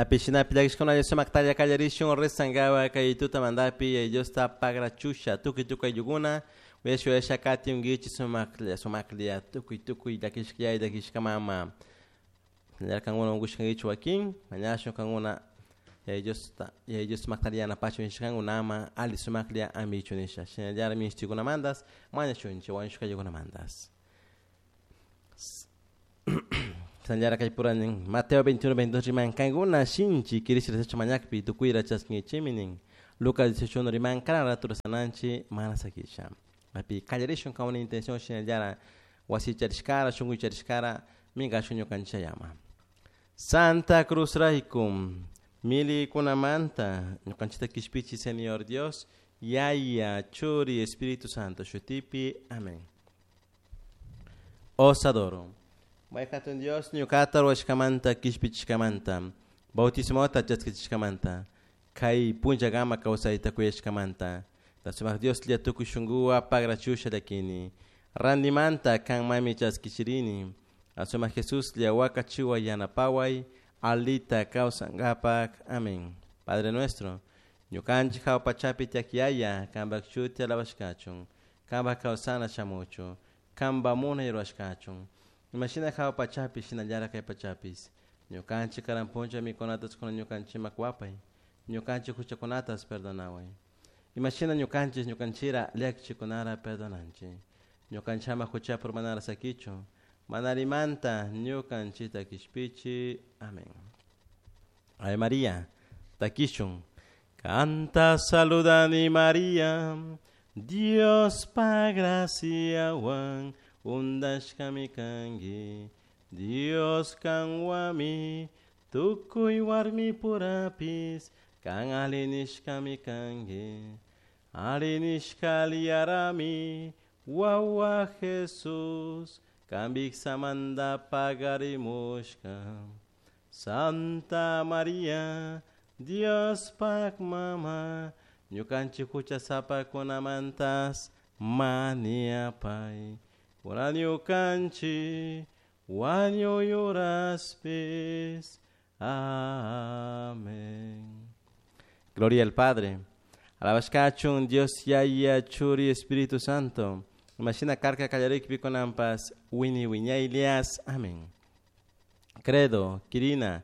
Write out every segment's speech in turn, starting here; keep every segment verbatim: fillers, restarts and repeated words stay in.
Pishinapi llakishkuna sumaktalla kallarishun rezankapak kay tutamantapi Diosta pagrachusha tukuy tukuy ayllukuna uyasha uyasha katiunkichik sumaklla sumaklla tukuy tukuy llakishka yaya llakishka mama kankuna unkushkankichik wakin mañashun kankuna Yaya Diosta Yaya Dios sumakta yanapachun nishkankunama alli sumaklla ambichun nisha shinallatak minishtikunamanta mañashunchik wañushka ayllikunamantas. Shinallara kay pura nin Mateo veintiuno veintidós riman kankuna shinchi kirish rezashpa mañakpi tukuyra chaskinkichikmi nin Lucas dieciocho uno riman karan rato rezananchik mana sakisha. Api kallarishun kankuna intención shinallara wasi charishkara shunku charishkara minkashun ñukanchik llama. Santa Cruz rayku milikunamanta ñukanchikta kishpichi Señor Dios Yaya Churi Espíritu Santo shutipi. Amén. Os adoro. Mayhatun Dios ñukata ruwashkamanta kishpichishkamanta bautismota chaskichishkamanta kay punllakama kawsayta kuyashkamanta sumak Dioslla tukuy shunkuwan pagrachusha llakini rantimanta kanmanmi chaskichirini sumak Jesuslla wakachiway yanapaway alita kawsankapak. Amén. Padre nuestro ñukanchik hawa pachapi tiyak Yaya kanpak shuti alabashkachun kanpak kawsana shamuchun kanpak munay rurashkachun imashina hawa pachapi shinallara kay pachapis ñukanchik karan punlla mikunata kunan ñukanchikman kuwapay ñukanchik huchakunatas perdonaway imashina ñukanchik ñukanchira llakichikunara perdonanchik ñukanchik ama huchapi urmanara sakichun mana allimanta ñukanchikta kishpichi. Amén. Ave María takishun kanta saludani María Diospa graciawan untashkami kanki Dios kanwanmi tukuy warmipurapis kan alli nishkami kanki alli nishka aliyarami wawa Jesús kanpik samanta pagarimushka Santa María Diospak mama ñukanchik huchasapakunamantas mañapay kunan ñukanchik wañuy uraspis. Amén. Gloria al Padre. Alabashkachun Dios Yaya Churi Espíritu Santo. Imashina karka kallarikpi kunanpas wini wiñaylias. Amén. Credo, Kirina,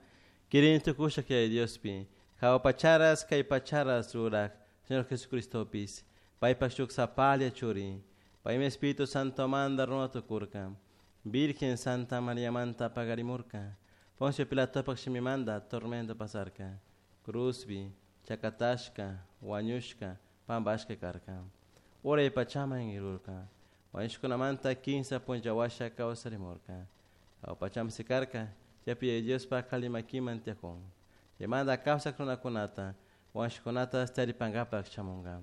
Kirin tukusha kay Diospi, hawa pacharas kay pacharas rurak, Señor Jesucristopis, paypak shuk sapalla churi, paymi Espíritu Santo manda runa tukurka, Virgen Santa María manta pagarimurka, Poncio Pilatopak shimimanda tormento pasarka, cruzbi, chakatashka, wañushka, pampashka karka, uray pachaman irurka, wañushkunamanta kinsa punlla washa kawsarimurka, hawa pachaman sikarka, chaypi Diospak alli makiman tiyakun, chaymanta kawsak runakunata, wañushkunata taripankapak shamunka.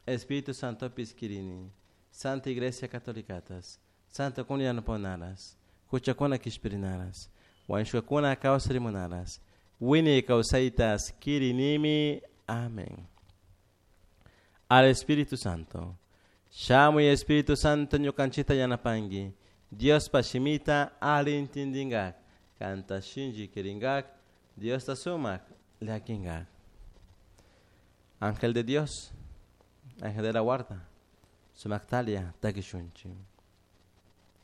Espíritu Santopis kirini, Santa Iglesia Catolicatas, Santa Comunidad yanapanaras, huchakuna kishpirinaras, wañushkakuna kawsarimunaras, wiñay kawsaytas kirinimi. Amén. Al Espíritu Santo. Shamuy Espíritu Santo ñukanchikta yanapanki, Diospa shimita alli intindingak, kanta shinchi kiringak, Diosta sumak llakinkak. Ángel de Dios, ángel de la guarda, sumaktalia takishunchik.